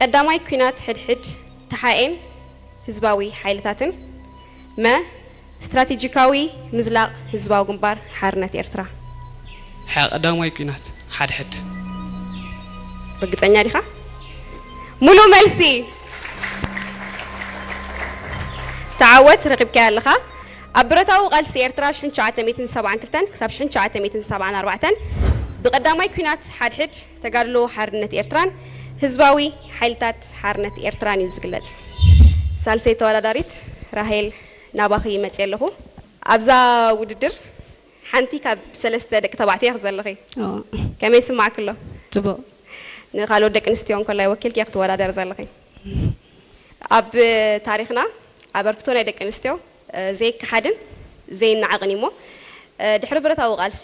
ቀዳማይ ኲናት ሕድሕድ ተሓኤን ህዝባዊ ሓይልታትን። መ፣ ስትራቴጂካዊ ምዝላቕ ህዝባዊ ግንባር ሓርነት ኤርትራ። ሓ፣ ቀዳማይ ኲናት ሓድሕድ። ርግጸኛ ዲኻ? ሙሉእ መልሲ። ተዓወት፣ ረኺብካያ ኣለኻ። ኣብ ብረታዊ ቃልሲ ኤርትራ ሽሕን ትሽዓተ ሚእትን ሰብዓን ክልተን ክሳብ ሽሕን ትሽዓተ ሚእትን ሰብዓን ኣርባዕተን ብቐዳማይ ኲናት ሓድሕድ ተጋድሎ ሓርነት ኤርትራን ህዝባዊ ሓይልታት ሓርነት ኤርትራን እዩ ዝግለጽ። ሳልሰይ ተወዳዳሪት ራሄል፣ ናባኺ መጽየ ኣለኹ። ኣብዛ ውድድር ሓንቲ ካብ ሰለስተ ደቂ ተባዕትዮ ኢኺ ዘለኺ። ኦ፣ ከመይ ይስማዕኪ ኣሎ? ጽቡቕ። ንኻልኦት ደቂ ኣንስትዮ እንከላይ ወኪልኪ ኢኺ ትወዳደሪ ዘለኺ። ኣብ ታሪኽና ኣበርክቶ ናይ ደቂ ኣንስትዮ እ፣ ዘይከሓድን ዘይነዓቕን እዩ እሞ፣ እ፣ ድሕሪ ብረታዊ ቃልሲ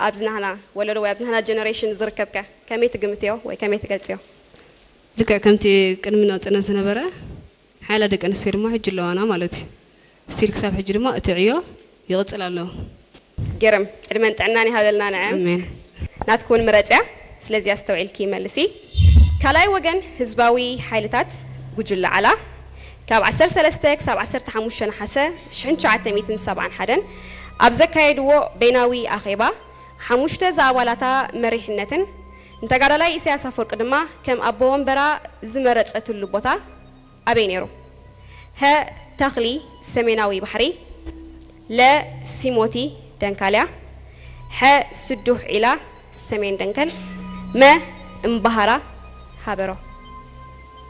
ኣብዚ ናህና ወለዶ ወይ ኣብዚ ናህና ጀነሬሽን ዝርከብከ ከመይ ትግምትዮ ወይ ከመይ ትገልጽዮ? ልክዕ ከምቲ ቅድሚ ናጽነት ዝነበረ ሓያላ ደቂ ኣንስትዮ ድማ ሕጂ ኣለዋና ማለት እዩ። ስቲል ክሳብ ሕጂ ድማ እቲ ዕዮ ይቕጽል ኣሎ። ገርም፣ ዕድመን ጥዕናን ይሃበልና ንዐ። ኣሜን። ናትኩ እውን ምረጽያ፣ ስለዚ ኣስተውዒልኪ መልሲ። ካልኣይ ወገን ህዝባዊ ሓይልታት ጉጅለ ዓላ ካብ ዓሰርተ ሰለስተ ክሳብ ዓሰርተ ሓሙሽተ ነሓሰ ሽሕን ትሽዓተ ሚእትን ሰብዓን ሓደን ኣብ ዘካየድዎ በይናዊ ኣኼባ ሓሙሽተ ዝኣባላታ መሪሕነትን ንተጋዳላይ ኢሳያስ ኣፈወርቂ ድማ ከም ኣቦ ወንበራ ዝመረጸትሉ ቦታ ኣበይ ነይሩ? ሀ፣ ተኽሊ ሰሜናዊ ባሕሪ፣ ለ፣ ሲሞቲ ደንካልያ፣ ሐ፣ ስዱሕ ዒላ ሰሜን ደንከል፣ መ፣ እምባሃራ ሃበሮ።